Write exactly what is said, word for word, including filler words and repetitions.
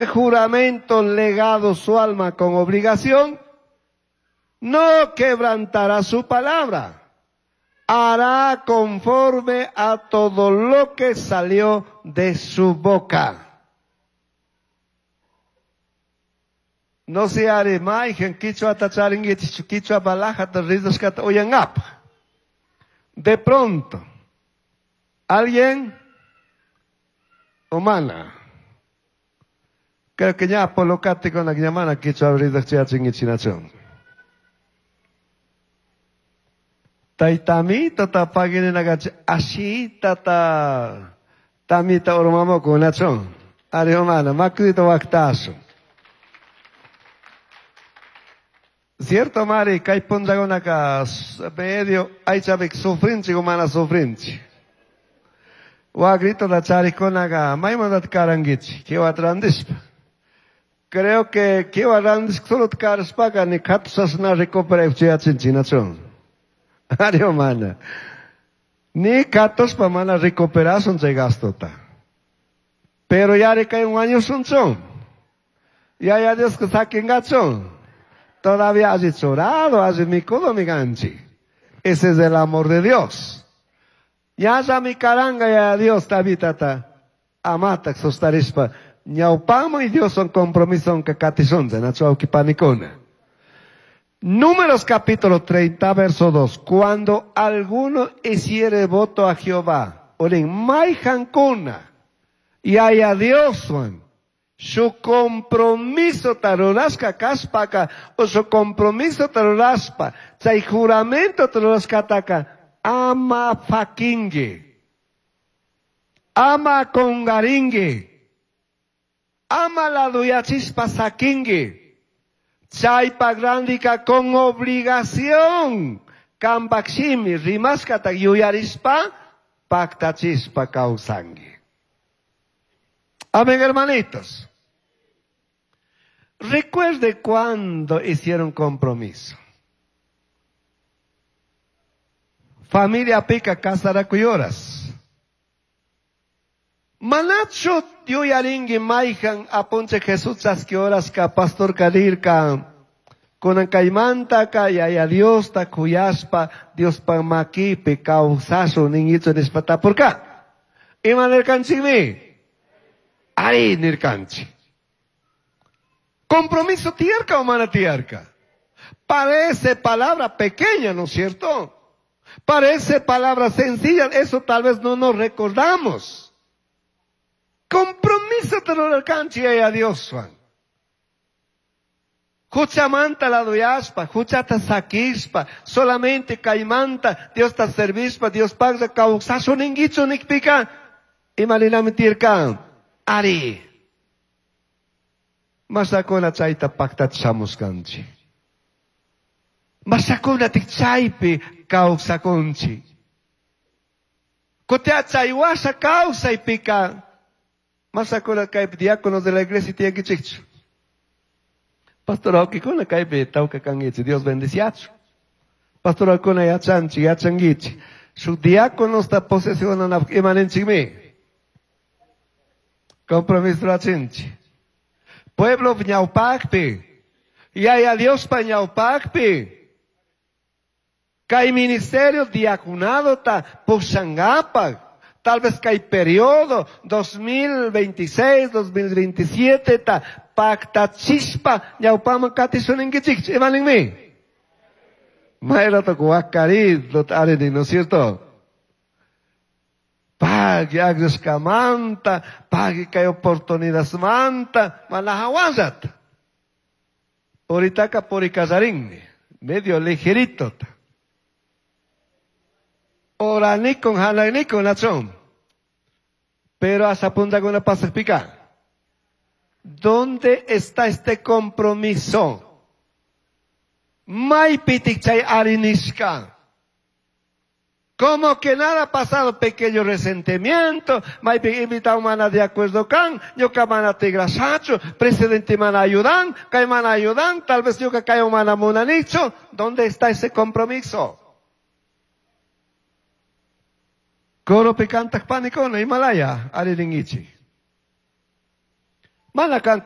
Juramento legado su alma con obligación, no quebrantará su palabra. Hará conforme a todo lo que salió de su boca. No se haré maigen quichua tacharinguichichu quichua balajata rizashkata uyangap. De pronto, alguien humana. Creo que ya polocate con la llamada quichua rizashkachinguichinachón. Taitamito ta pagini nagachi ashita ta tamita ormamoko nachón. Ari humana, makrito waktaso. Cierto, Mari, kay puntakunaka medio aychavik sufrinchi humana sufrinchi. Wagrito la charikunaga maymandat karangichi, kiwa trandispa. Creo que kiwa randis solo tkaraspaga ni katusasna recupera chiachinchi nachón. Ari humana. Ni katuspa mana recuperasun chay gastota. Pero yari kay un año sunchón. Ya ya Dios que saquen gachón. Todavía has chorado, has mikudo mi ganchi. Ese es el amor de Dios. Ya ya mi caranga ya Dios tabitata amata sostarispa. Ñaupamo y Dios son compromiso que catisonza, nacho panicona. Números capítulo treinta, verso dos. Cuando alguno hiciere voto a Jehová, oren maijancuna, y haya Dios, Juan. Su compromiso tarurasca caspaka, o su compromiso taruraspa, chay juramento tarurascataka, ama faquingue, ama congaringue, ama la duyachispa saquingue, chaypa grandica con obligación, campaximi, rimascata yuyarispa, pactachispa causangue. Amén, hermanitos. Recuerde cuando hicieron compromiso. Familia pica casaracuyoras. Manacho yuyaringi maijan apunche Jesús chasquioras ka pastor kadirka. Kunan kaimanta ka yaya Dios ta kuyaspa Dios pa makipi causasu ningicho nispatapurka. Ima nirkanchikmi. Ari nirkanchi. Compromiso tierca o mana tierca. Parece palabra pequeña, ¿no es cierto? Parece palabra sencilla, eso tal vez no nos recordamos. Compromiso te lo alcanche a Dios, Juan. Juchamanta la doyaspa, juchata saquispa, solamente caimanta, Dios ta servispa, Dios paga causaso ninguicho nikpika, y malinami tirca. Ari. Masakuna chayta pactachamuskanchi. Masakuna tikchaypi kawsakunchi. Kutea chaywasha kawsaypika. Masakuna kaypi diáconos de la iglesia tiyankichikchu. Pastor awkikuna kaypi tawka kankichik, Dios bendiciachu. Pastor awkuna yachanchi, yachankichik. Su diáconos ta posesionanapaq imaninchikmi. Compromiso rachinchi. Pueblo ñawpaqpi, yaya Dios pa ñawpaqpi. Kay ministerio diaconado ta pushangapak. Tal vez kay periodo dos mil veintiséis, dos mil veintisiete ta pacta chispa ñawpaman katisuninkichik. Imaninmi. Mayrato kuwakarid lot areni, ¿no es cierto? Pagi agriuskamanta, pagi kay oportunidad manta, manahawazat. Oritaka purikazarinni, medio ligerito. Oranikon, hananikon, nachón. Pero hasta punta con la pasa pica. ¿Dónde está este compromiso? Maipitik chay arinishka. Como que nada ha pasado, pequeño resentimiento, maipi invitado mana de acuerdo can, yo mana tigrasacho, presidente mana ayudan, kay mana ayudan, tal vez yo que kay mana munanicho. ¿Dónde está ese compromiso? Coro picanta panicona, Himalaya, ariringichi. Mana can